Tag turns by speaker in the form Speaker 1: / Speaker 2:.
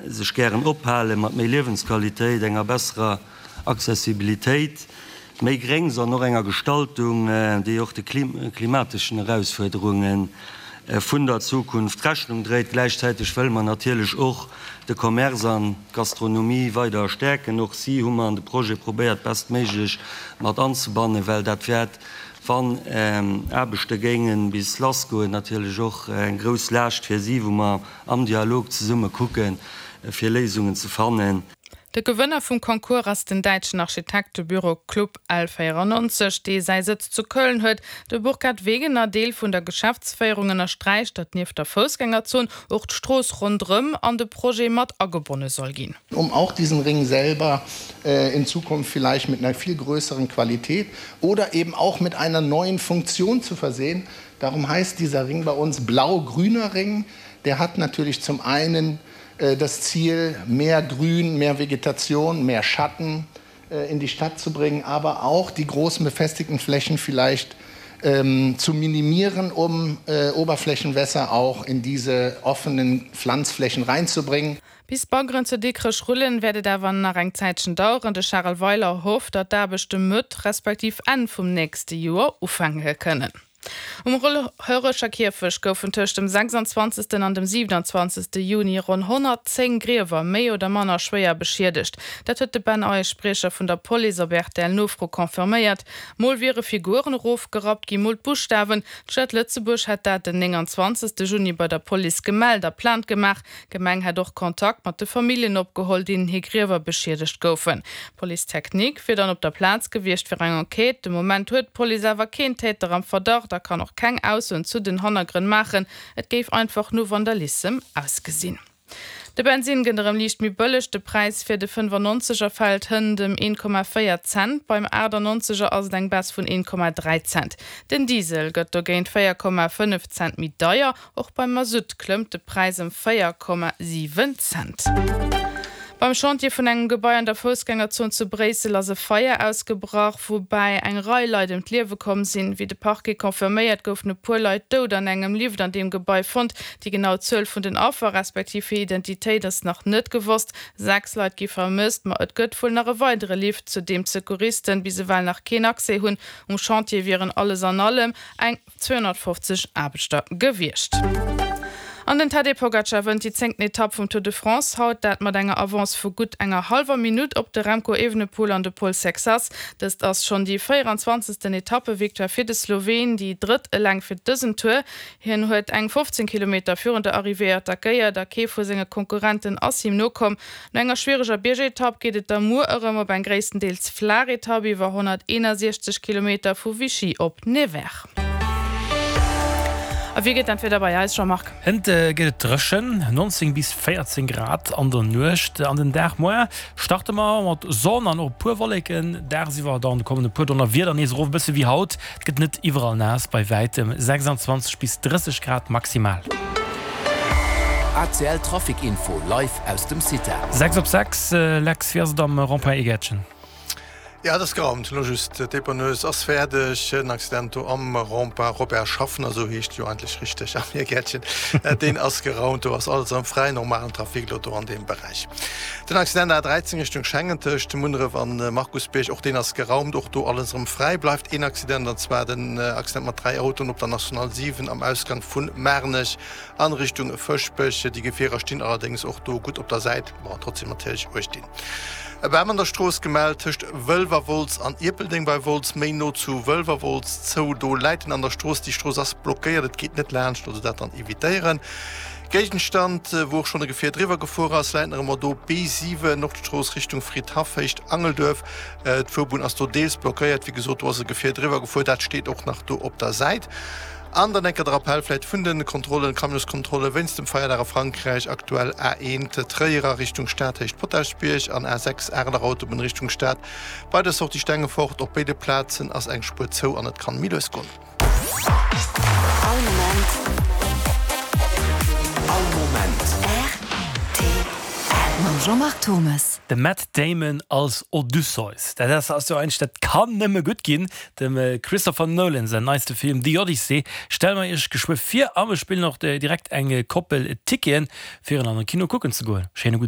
Speaker 1: sech gären ophalen, mat méi Liewensqualitéit, enger besserer Accessibilitéit, méi Gréngs an och enger Gestaltung, déi och de klimateschen Erausfuerderunge vun der Zukunft Rechnung dréit. Gläichzäiteg wëlle mer natierlech och de Commerce an d'Gastronomie weider stäerken. Och si hu mer an de Projet probéiert bestméiglech mat anzebannen, well dat wäert, wann Aarbechte géinge bis lassgoen, natierlech och eng grouss Laascht fir si, wou mer am Dialog zesumme kucken, fir Léisungen ze fannen.
Speaker 2: De Gewënner vum Concours ass den däitschen Architektebüro Club L 94, dee säi Sëtz zu Köln huet. De Burkhard Wegener, Deel vun der Geschäftsféierung, ënnersträicht, datt nieft der Foussgängerzon och d'Strooss ronderëm an de Projet mat agebonne soll ginn.
Speaker 3: Um auch diesen Ring selber in Zukunft vielleicht mit einer viel größeren Qualität oder eben auch mit einer neuen Funktion zu versehen. Darum heißt dieser Ring bei uns blau-grüner Ring. Der hat natürlich zum einen das Ziel, mehr Grün, mehr Vegetation, mehr Schatten in die Stadt zu bringen, aber auch die großen befestigten Flächen vielleicht ähm, zu minimieren, um äh, Oberflächenwässer auch in diese offenen Pflanzflächen reinzubringen.
Speaker 2: Bis d'Baggeren zu Dikrech rullen, wäert et awer nach eng Zäitchen daueren. De Charel Weiler hofft, datt d'Aarbechte Mëtt respektiv Enn vum nächste Joer ufänke kënnen. Um Hollerecher Kierfecht goufen tëscht dem 26. an dem 27. Juni ronn 110 Griewer méi oder manner schwéier beschiedegt. Dat huet de Ben Eisch, Spriecher vun der Police, op RTL-Nofro confirméiert. Mol wiere Figuren erofgerappt ginn, mol d'Buschtawen. D'Stad Lëtzebuerg hätt dat den 29. Juni bei der Police gemellt a Plainte gemaach. D'Gemeng hätt och Kontakt mat de Familljen opgeholl, deenen hir Griewer beschiedegt goufen. D'Police technique wier dann op der Plaz gewiescht fir eng Enquête. De Moment huet d'Police awer keen Täter am Verdacht a kann och keng Aussoen zu den Hannergrënn maachen. Et géif einfach no Vandalissem ausgesinn. De Bensinn gëtt erëm liicht méi bëlleg. De Präis fir de 95 er fält hënt ëm 1,4 Cent. Beim 98 er ass et eng Baisse vun 1,3 Cent. Den Diesel gëtt dogéint 4,5 Cent méi deier. Och beim Masutt klëmmt de Präis ëm 4,7 Cent. Beim Chantier vun engem Gebai an der Foussgängerzon zu Bréissel ass e Feier ausgebrach, woubäi eng Rei Leit ëm d'Liewe komm sinn. Wéi de Parquet confirméiert, goufen e puer Leit dout an engem Lift an deem Gebai fonnt. Déi genau Zuel vun den Affer, respektiv hir Identitéit ass nach net gewosst. 6 Leit gi vermësst, ma et gëtt wuel nach e weidere Lift, zu deem d'Secouristen bis ewell nach keen Accès hunn. Um Chantier wieren alles an allem eng. 250 Aarbechter gewiescht. An den Tadej Pogacar wënnt déi zéngten Etapp vum Tour de France haut, dat mat enger Avance vu gutt enger hallwer Minutt op de Remco Evenepoel an de Paul Sexas. Dëst ass schonn déi 24. Etappevictoire fir de Sloween, déi drëtt eleng fir dësen Tour. Hien huet eng 15 Kilometer virun der Arrivée attackéiert a kee vu senge Konkurrenten ass him nokomm. No enger schwiereger Biergetapp geet et da muer erëm op eng gréisstendeels flaach Etapp iwwer 161 Kilometer vu Vichy op Nevers. A wéi gëtt dat Wieder bei eis, Jean-Marc?
Speaker 4: Hënt gëtt et dréchen, 19 bis 14 Grad an der Nuecht. An den Dag muer starte mer mat Sonn an och e puer Wolleken. Dagsiwwer dann kommen e puer Donnerwieder nees erof, e bësse wéi haut. Et gëtt net iwwerall naass, bei wäitem 26 bis 30 Grad maximal.
Speaker 5: ACL Trafic Info live aus dem CITA.
Speaker 4: 6 op 6, Lex, wéi ass et am Rond-point Egertchen?
Speaker 6: Jo, et ass geraumt elo just. D'Dépanneuse ass fäerdeg. Den Accident do am Rond-point Robert Schaffner, esou heescht jo eigentlech richteg am Egertchen, deen ass geraumt. Do ass alles am fräien, normalen Trafic elo do an deem Beräich. Den Accident A 13 Richtung Schengen tëscht Munneref an Markusbierg, och deen ass geraumt, och do alles erëm fräi. Bleift een Accident, an zwar den Accident mat 3 Autoen op der National 7 am Ausgang vun Maarnech an Richtung Fëschbech. Déi Gefierer stinn allerdéngs och do gutt op der Säit, ma trotzdem natierlech uecht dinn. E Bam an der Strooss gemellt tëscht Wëlwerwolz an Ierpeldeng bei Wolz, méi no zu Wëlwerwolz zou. Do läit en an der Strooss, déi Strooss ass blockéiert, et geet net laanscht, also dat dann evitéieren. Géigenstand, wou och schonn e Gefier driwwer gefuer ass, läit nach ëmmer do, B7, Nordstrooss Richtung Fridhaff, Héicht Angelduerf. D'Fuerbunn ass do deels blockéiert. Wéi gesot, do ass e Gefier driwwer gefuer, dat steet och nach do op der Säit. An dann enker de Rappell vläit vun de Kontrollen, Camionskontrolle wéinst dem Feierdag a Frankräich, aktuell A1 Tréier a Richtung Stad, Héicht Potaschbierg an A6 Areler Autobunn Richtung Stad bei der Sortie Stengefort. Op béide Plazen ass eng Spuer zou an et kann méi lues goen.
Speaker 5: All Moment. All Moment. Rtl.
Speaker 7: Mam Jean-Marc Thommes.
Speaker 4: De Matt Damon als Odysseus, dat ass ass jo eigentlech, dat kann nëmme gutt ginn. Dem Christopher Nolan säin neiste Film The Odyssey stelle mer iech geschwë vir a mer spillen och direkt eng Koppel Ticketen fir en an de Kino kucken ze goen. Schéine gudden.